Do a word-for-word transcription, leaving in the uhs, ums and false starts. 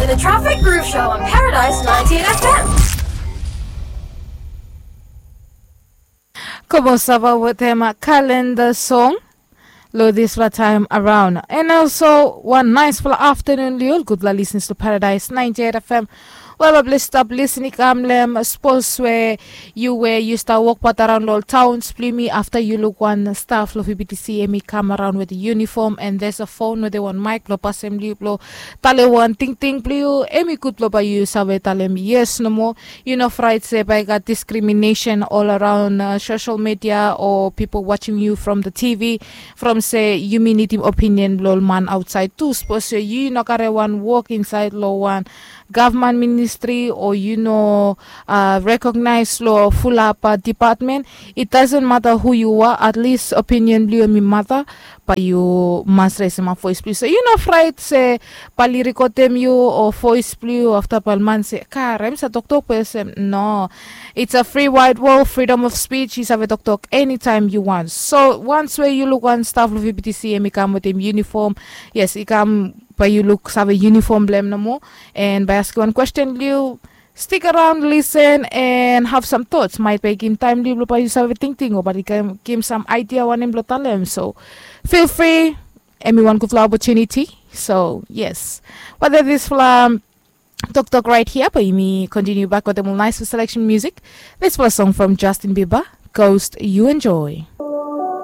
The Traffic Groove Show on Paradise ninety-eight F M. Komo sava wetem kalenda song lo dispela taim araun. And also wan naispela aftanun liu ol gutpela lisnis to Paradise ninety-eight F M. Wel, ol ples stap lisin i kam lem spos we yu we yu stap wokbaut araun lo ol towns blong yumi afta yu luk wan staf lo P P T C em i kam araun with uniform and there's a phone with wan mic blo pasem liu blo tale wan tingting blong yu, em i gud blo bai yu save talem yes nomo. Yu no fraid se bai i gat discrimination all around uh, social media or people watching you from the T V from se yumi nidim opinion blo ol man outside tu. Suppose se yu no kare wan work inside lo wan government ministry or yu no uh, recognize lo fulap uh, department. It doesn't matter who you are, at least opinion blo yu em i matter. Bai yu mas resim up voice please. So yu no fraid se bai li recordem yu o voice blo yu afta bai man se kar em sa toktok person. No, it's a free wide world, freedom of speech. Yu save toktok anytime you want. So once we yu luk wan staff lo V P T C em i kam wetem uniform, yes, i kam bai yu luk save uniform blem nomo. And bai askim wan question blo yu, stick around, listen and have some thoughts. Might bai gim taim blo bai yu save tingting o bai gim some idea wanem blo talem. So feel free, em i wan gutpela opportunity. So yes, whether this fla toktok right here bai yumi continue back with a more nice selection music. This was a song from Justin Bieber, Ghost. You enjoy.